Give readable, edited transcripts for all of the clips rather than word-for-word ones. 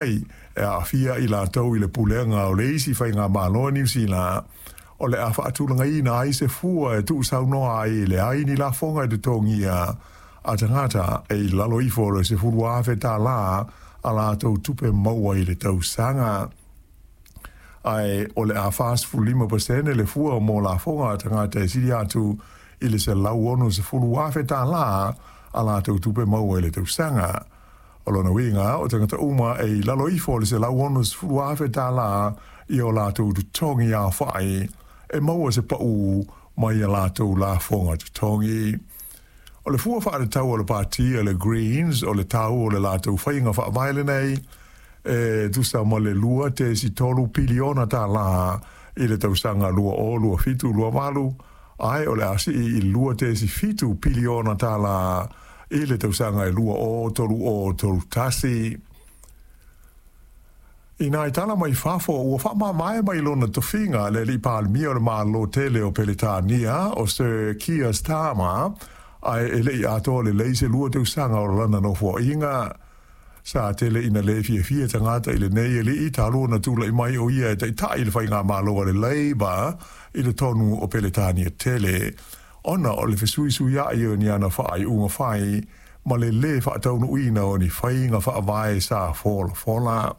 E aafia i latou i le pulega o le isi faigamalo a Niu Sila, o le a faatulagaina ai se fua e tuusaunoa ai e leai ni lafoga e totogia a tagata e i lalo ifo o le $10,000 a latou tupe maua i le tausaga. Ae o le a 45% le fua mo lafoga a tagata e sili atu i le $160,000 a latou tupe maua i le tausaga. O lona uiga, o tagata uma e i lalo ifo o le $160,000 i o latou totogi aofai e maua se pau mai a latou lafoga totogi. O le fua faatatau a le pati a le Greens o le tau o le latou faiga faavae lenei e tusa ma le 2.3 piliona tālā i le tausaga 2027/28, ae o le a sii i le 2.7 piliona tālā i le tausaga e 2030/31. I nai tala mai fafo, ua faamavae mai lona tofiga le alii Palemia o le Malo tele o Peretania o Sir Keir Starmer, ae e le i atoa lelei se 2 tausaga o lana nofoaiga. Sa tele ina le fiafia tagata i lenei alii talu ona tulai mai o ia e taitai le faigamalo a le Labour i totonu o Peretania tele, ona o le fesuisuiai o ni ana faaiuga fai ma le lē faataunuuina o ni faiga faavae sa folafola.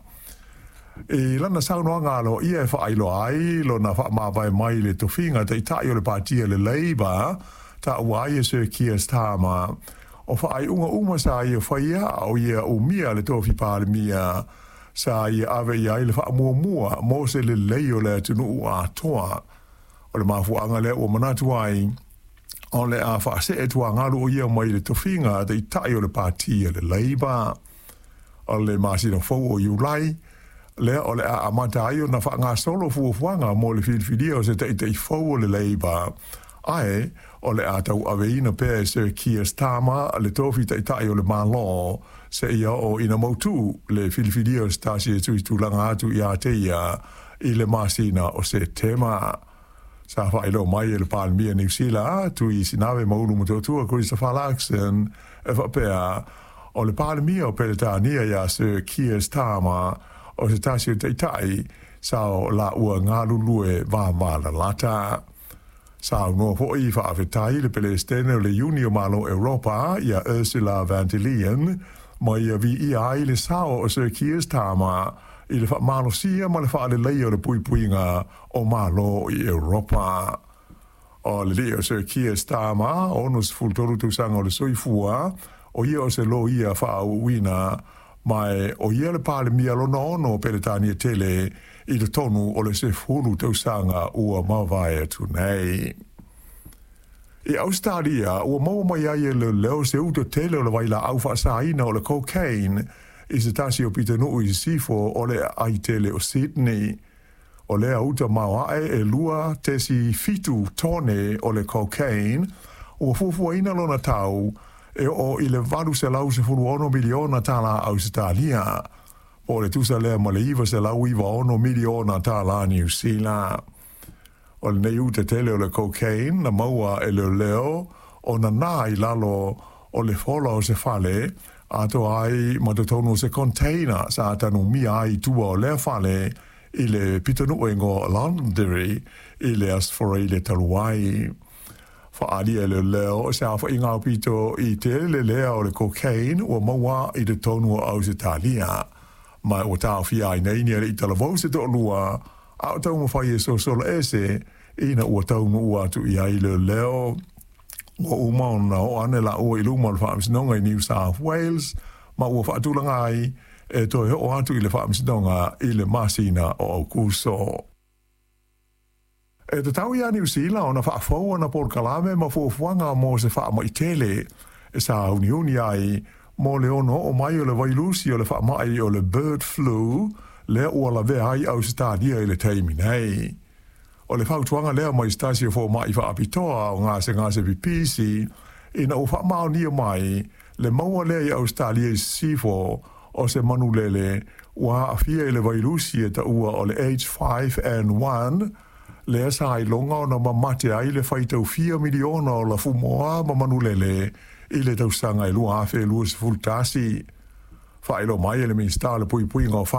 I lana saunoaga aloaia e faailoa ai lona faamavae mai le tofiga taitai o le pati a le Labour, taua ai e Sir Keir Starmer o faaiuga uma sa ia faia a o ia umia le tofi Palemia sa ia ave i ai le faamuamua mo se lelei o le atunuu atoa. O le mafuaaga lea ua manatu ai o le a faasee tuagalu o ia mai le tofiga taitai o le pati a le Labour. O le masina fou o Iulai lea o le a amata ai ona faagasolo fuafuaga mo le filifilia o se taitai fou o le Labour, ae o le a tauaveina pea e Sir Keir Starmer le tofi taitai o le Malo seia oo ina mautu le filifilia o se tasi e tuitulaga atu ia te ia i le masina o Setema. Sa faailoa mai e le Palemia Niu Sila, Tui Sinave ma Ulu Motootua Christopher Luxon, e faapea o le Palemia o Peretania ia Sir Keir Starmer o se tasi o taitai sa o laua galulue vavalalata. Saunoa foi faafetai le Pelestene o le Iuni o Malo Europa ia Ursula von der Leyen ma ia viia ai le sao o Sir Keir Starmer i le faamalosia ma le faaleleia o le puipuiga o Malo i Europa. O le alii o Sir Keir Starmer, 63 tausaga o le soifua, o ia o se loia faauuina, ma o ia le Palemia lona ono o Peretania tele i totonu o le 10 tausaga ua mavae atu nei. I Ausetalia, ua maua mai ai e leoleo se uta tele o le vailaau faasaina o le cocaine i se tasi o pitonuu i sisifo o le aai tele o Sydney. O lea uta maoae e 2.7 tone o le cocaine, ua fuafuaina lona tau e oo i le 816 miliona tālā Ausetalia, po o le tusa lea ma le 996 miliona tālā Niu Sila. O lenei uta tele o le cocaine na maua e leoleo o nana i lalo o le fola o se fale, atoa ai ma totonu o se container sa tanumia ai i tua o lea fale i le pitonuu e igoa o Londonderry i le Aso Faraile talu ai. Faaalia e leoleo o se aofaiga aupito i tele lea o le cocaine ua maua i totonu o Ausetalia, ma ua taofia ai nei ni alii talavou se toalua a o taumafai e sosola ese ina ua taunuu atu i ai leoleo. Ua uma ona oo ane laua i luma o le faamasinoga i New South Wales, ma ua faatulaga ai e toe oo atu i le faamasinoga i le masina o Aukuso. E tatau iā Niu Sila ona faafou ana polokalame ma fuafuaga mo se faamai tele e sāuniuni ai mo le ono oo mai o le vailusi o le faamai o le bird flu lea ua lavea ai Ausetalia i le taimi nei. O le fautuaga lea mai se tasi o fomai faapitoa o gasegase pipisi ina ua faamaonia mai le maua lea i Ausetalia i sisifo o se manulele ua aafia i le vailusi e taua o le H5N1, lea sa iloga ona mamate ai le faitau fia miliona o lafumoā ma manulele i le tausaga e 2021. Faailoa mai e le Minisita o le Puipuiga o.